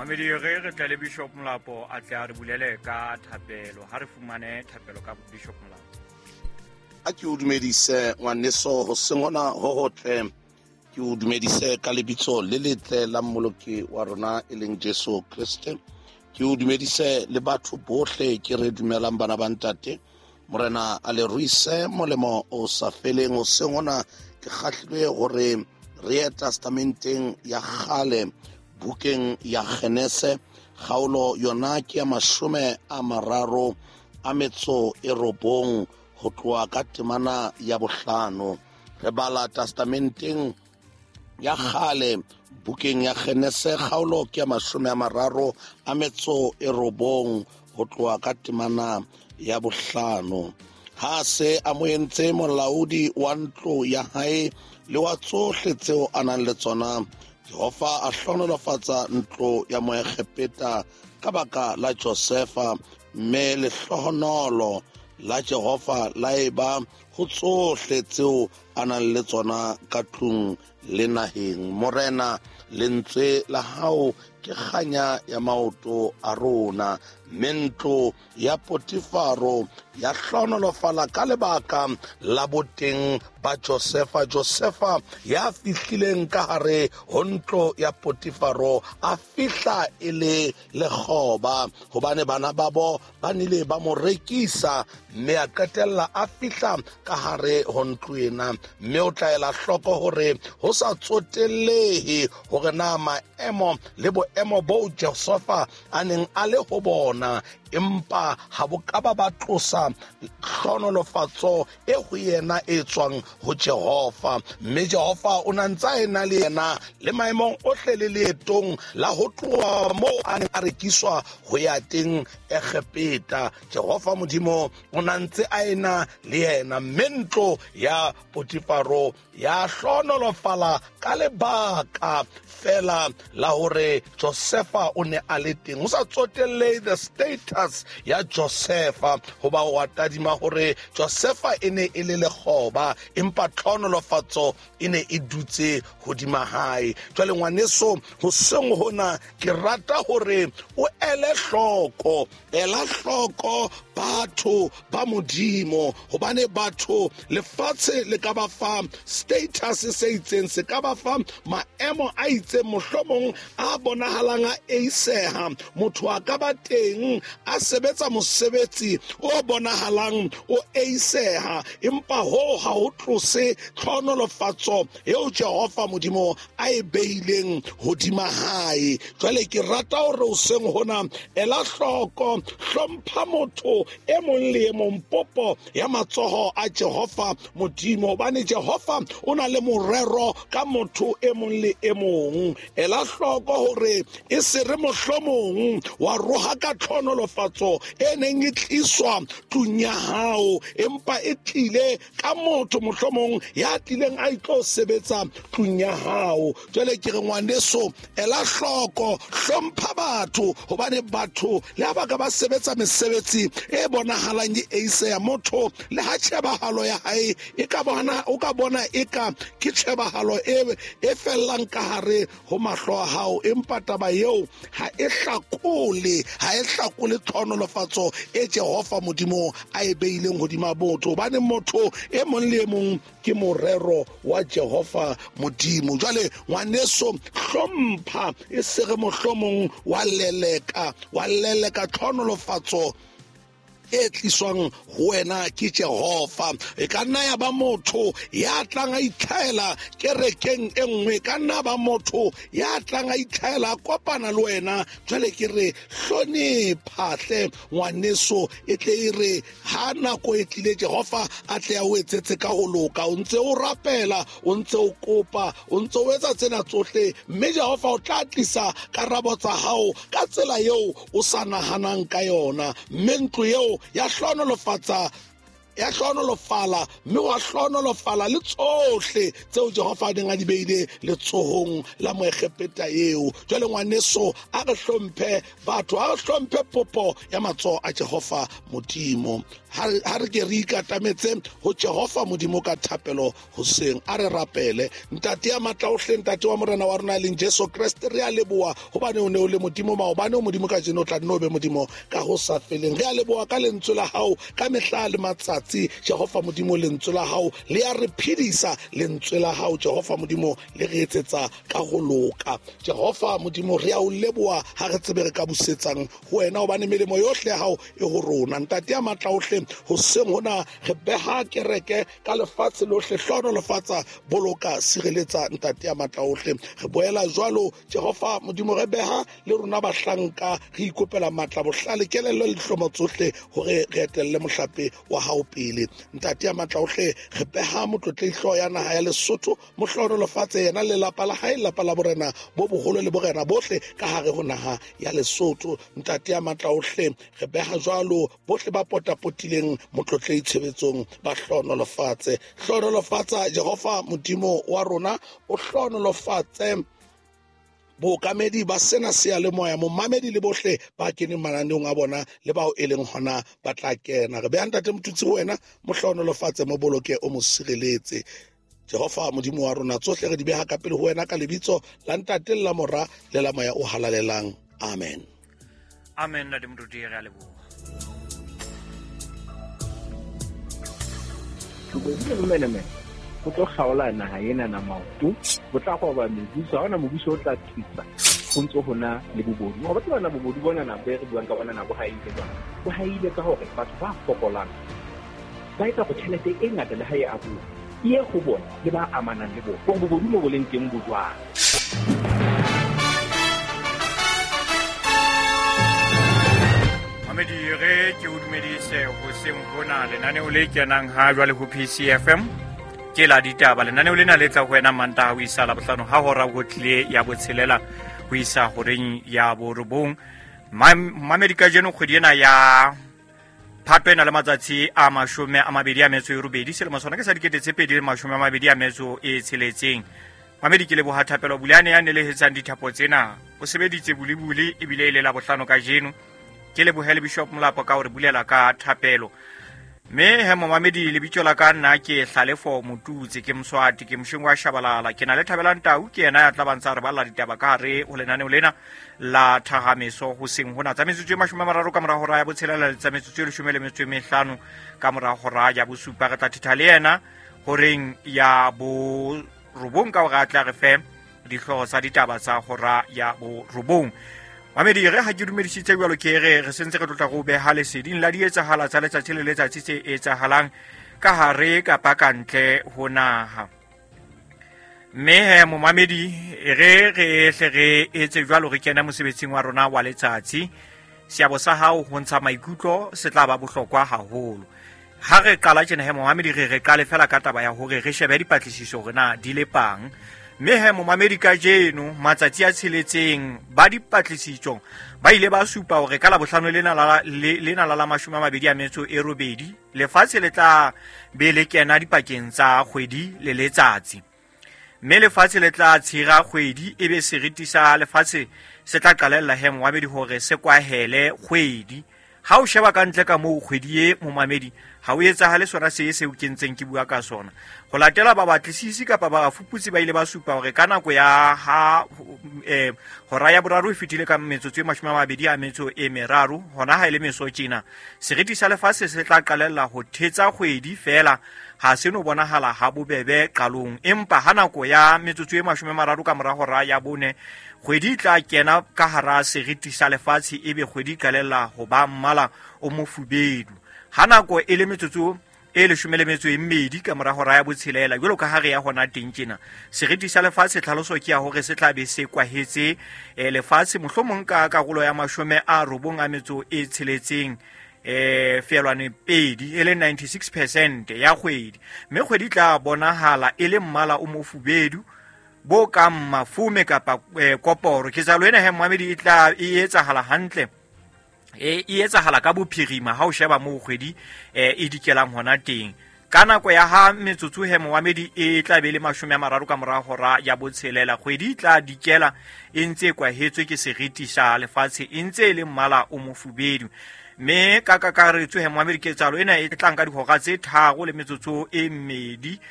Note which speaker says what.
Speaker 1: Mamedi, re tle le Bishop Molapo a tle a re bulele ka thapelo. Ha re fumane thapelo ka Bishop Molapo.
Speaker 2: A ke o dumedise ngwaneso hoseng hona ho hotle. Ke o dumedise ka lebitso le letle la Mmoloki wa rona e leng Jesu Kriste. Ke o dumedise le batho bohle ke re dumelang bana ba ntate. Morena a le ruise molemo o sa feleng. Hoseng hona ke kgahlilwe hore re ye testamenteng ya kgale, bukeng ya Genese, kgaolo yona ke ya 39 ho tloha ka temana ya 5. Re bala testamenteng ya kgale, bukeng ya Genese, kgaolo ke ya 39 ho tloha ka temana ya 5. Ha se a mo entse molaodi wa ntlo ya hae le wa tsohle tseo a nang le tsona, Jehova a hlohonolofatsa ntlo ya Moegepeta ka baka la Josefa, mme lehlohonolo la Jehova la eba ho tsohle tseo a nang le tsona ka tlung le naheng. Morena, lentswe la hao ke kganya ya maoto a rona, mme ntlo ya Potifaro ya hlohonolofala ka lebaka la boteng ba Josefa. Josefa ya fihlileng ka hare ho ntlo ya Potifaro a fihla e le lekgoba, hobane bana babo ba nile ba mo rekisa, mme a qetella a fihla ka hare ho ntlo ena. Mme o tla ela hloko hore ho sa tsotellehe hore na maemo le boemo boo Josefa a neng a le ho bona, empa ha bo ka ba ba tlosa hlohonolofatso e ho yena e tswang ho Jehova. Mme Jehova o na ntse a ena le yena le maemong ohle le leetong la ho tloha moo a neng a rekiswa ho ya teng Egepeta. Jehova Modimo o na ntse a ena le yena, mme ntlo ya Potifaro ya hlohonolofala ka lebaka fela la hore Josefa o ne a le teng. Ho sa tsotellehe the status ya Josefa, hoba wa tadima hore Josefa e ne e le lekgoba, empa tlhohonolofatso e ne e dutse hodima hae. Jwale ngwaneso, hoseng hona ke rata hore o ele hloko, ela hloko batho ba Modimo, hobane batho lefatshe le ka ba fa status se itseng, se ka ba fa maemo a itseng, mohlomong a bonahalang a eiseha. Motho a ka ba teng a sebetsa mosebetsi o bonahalang o eiseha, empa hoo ha ho tlose tlhohonolofatso eo Jehova Modimo a e beileng hodima hae. Jwale ke rata hore hoseng hona ela hloko, hlompha motho e mong le e mong, popo ya matsoho a Jehova Modimo, hobane Jehova o na le morero ka motho e mong le e mong. Ela hloko hore e se re mohlomong wa roha ka tlhohonolofatso e neng e tliswa tlung ya hao, empa e tlile ka motho mohlomong ya tlileng a itlo sebetsa tlung ya hao. Jwale ke re ngwaneso, ela hloko, hlompha batho, hobane batho le ha ba ka ba sebetsa mesebetsi e bonahalang e eiseya, motho le ha tjhebahalo ya hae e ka bona, o ka bona eka ke tjhebahalo e fellang ka hare ho mahlo a hao, empa taba eo ha e hlakole, ha e hlakole tlhohonolofatso e Jehova Modimo a e beileng hodima motho, hobane motho e mong le e mong ke morero wa Jehova Modimo. Jwale ngwaneso, hlompha, e se re mohlomong wa leleka, wa leleka tlhohonolofatso e tliswang ho wena ke Jehova. E ka nna ya ba motho ya tlang a itlhaela kerekeng e nngwe, e ka nna ba motho ya tlang a itlhaela a kopana le wena. Jwale ke re hlonepha hle ngwaneso, e tle e re ha nako e tlile Jehova a tle a o etsetse ka ho loka. O ntse o rapela, o ntse o kopa, o ntse o etsa tsena tsohle, mme Jehova o tla tlisa karabo tsa hao ka tsela eo o sa nahanang ka yona, mme ntlo eo ya hlohonolofatsa Ya hlohonolofala, mme wa hlohonolofala le tsohle tseo Jehova a neng a di beile letsohong la Moegepeta eo. Jwale ngwaneso, a re hlomphe batho, a re hlomphe popo ya matsoho a Jehova Modimo. Ha re ke re ikatametse ho Jehova Modimo ka thapelo hoseng, a re rapele. Ntate ya matla ohle, Ntate wa Morena wa rona e leng Jesu Kreste, re a leboha hobane o ne o le Modimo maobane, o Modimo kajeno, o tla nne o be Modimo ka ho sa feleng. Re a leboha ka lentswe la hao ka mehla le matsatsi. Jehova Modimo, lentswe la hao le a re phedisa, lentswe la hao Jehova Modimo le re etsetsa ka ho loka. Jehova Modimo, re a o leboha, ha re tsebe re ka busetsang ho wena, hobane melemo yohle ya hao e ho rona. Ntate ya matla ohle, hoseng hona re beha kereke ka lefatshe lohle, hlohonolofatsa, boloka, sireletsa, Ntate ya matla ohle. Re boela jwalo Jehova Modimo, re beha le rona bahlanka, re ikopela matla, bohlale, kelello le dihlomo tsohle hore re etelle mohlape wa hao pele. Ntate ya matla ohle, re beha motlotlehi hlooho ya naha ya Lesotho, mo hlohonolofatse yena le lelapa la hae, lelapa la borena bo boholo le borena bohle ka hare ho naha ya Lesotho. Ntate ya matla ohle, re beha jwalo bohle ba potapotileng motlotlehi tshebetsong, ba hlohonolofatse. Hlohonolofatsa Jehova Modimo wa rona, o hlohonolofatse bookamedi ba sena seyalemoya, momamedi le bohle ba keneng mananeong a bona le bao e leng hona ba tla kena. Re beha Ntate Motutsi ho wena, mo hlohonolofatse, mo boloke, o mo sireletse. Jehova Modimo wa rona, tsohle re di beha ka pele ho wena ka lebitso la Ntate le la Mora le la Moya o Halalelang. Amen.
Speaker 1: Amen, Ntate Moruti, re a leboha.
Speaker 3: Bobodu le bomenemene bo tlo kgaola naha ena na maoto, bo tla roba mebuso, ha hona mobuso o tla thusa ho ntso hona le bobodu. Wa tseba na bobodu bona na be re buang ka bona na bo haile jwang? Bo haile ka hore batho ba fokolang ba etsa hore tjhelete e ngata le ha e abuwa e ye ho bona le ba amanang le bona. Hore bobodu mo bo leng teng bo jwang?
Speaker 1: Mamedi, re ke o dumedise hoseng hona lenaneo le kenang ha jwale ho PCFM ke la ditaba. Lenaneo lena le tla ho wena Mantaha ho isa Labohlano ha hora ho tlile ya botshelela ho isa horeng ya borobong. Mamedi, kajeno kgwedi ena ya Phato e na le matsatsi a 28, selemo sona ke sa 2026. Mamedi, ke leboha Thapelo Bulane ya nelehetsang dithapo tsena. O sebeditse bulibuli ebile e le Labohlano kajeno. Ke lebohe le Bishop Molapo ka hore bulela ka thapelo. Mme he momamedi, lebitso la ka nna ke Hlalefo Motutse, ke Moswati, ke mosheng wa Shabalala. Ke na le Thabelang Tau, ke yena ya tla bantsa re balla ditaba ka hare ho lenaneo lena la Thahameso hoseng hona. Tsa metsotso e 30 ka mora hora ya botshelela le tsa metsotso e 15 ka mora hora ya bosupa. Re tla thetha le yena horeng ya borobong ka hore a tla re fe dihlooho tsa ditaba tsa hora ya borobong. Mamedi, re ha ke dumedisitse jwalo, ke re re sentse re tlotla go beha leseding la dietsahala tsa letsatsi le letsatsi tse etsahalang ka hare kapa ka ntle ho naha. Mme he momamedi, re re hle re etse jwalo, re kena mosebetsing wa rona wa letsatsi. Seabo sa hao ho ntsha maikutlo se tla ba bohlokwa haholo. Ha re qala tjena he momamedi, re re qale fela ka taba ya hore re shebe dipatlisiso hore na di lepang. Mme he momamedi, kajeno matsatsi a tsheletseng ba dipatlisiso ba ile ba supa hore ka Labohlano lena la lena la 28 lefatshe le tla be le kena dipakeng tsa kgwedi le letsatsi. Mme lefatshe le tla tshira kgwedi, ebe seriti sa lefatshe se tla qalella he momamedi hore se kwahele kgwedi. Ha o sheba ka ntle ka moo kgwedi e momamedi, ha o etsahale sona se seo ke ntseng ke bua ka sona. Ho latela babatlisisi kapa bafuputsi ba ile ba supa hore ka nako ya ha hora ya boraro e fetile ka metsotso e 23, hona ha e le meso tjena, seriti sa lefatshe se tla qalella ho thetsa kgwedi fela, ha se no bonahala ha bobebe qalong. Empa ha nako ya metsotso e 30 ka mora hora ya bone, kgwedi e tla kena ka hara seriti sa lefatshe, ebe kgwedi e qalella ho ba mmala o mofubedu. Ha nako e le metsotso e 12 ka mora hora ya botshelela, jwalo ka ha re ya hona teng tjena, seriti sa lefatshe tlhaloso ke ya hore se tla be se kwahetse lefatshe mohlomong ka karolo ya 96, 0.2 e le 96% ya kgwedi. Mme kgwedi tla bonahala e le mmala o mofubedu bo kang mafume kapa koporo. Ketsahalo ena he momamedi e tla e etsahala hantle E etsahala ka bophirima ha o sheba moo kgwedi e dikelang hona teng. Ka nako ya ha metsotso he moamedi e tla be le 30 ka mora hora ya 6, kgwedi e tla dikela e ntse e kwahetswe ke seriti sa lefatshe, e ntse e le mmala o mofubedu. Mme ka kakaretso he moamedi, ketsahalo ena e tlang ka dihora tse 3 le metsotso e 2.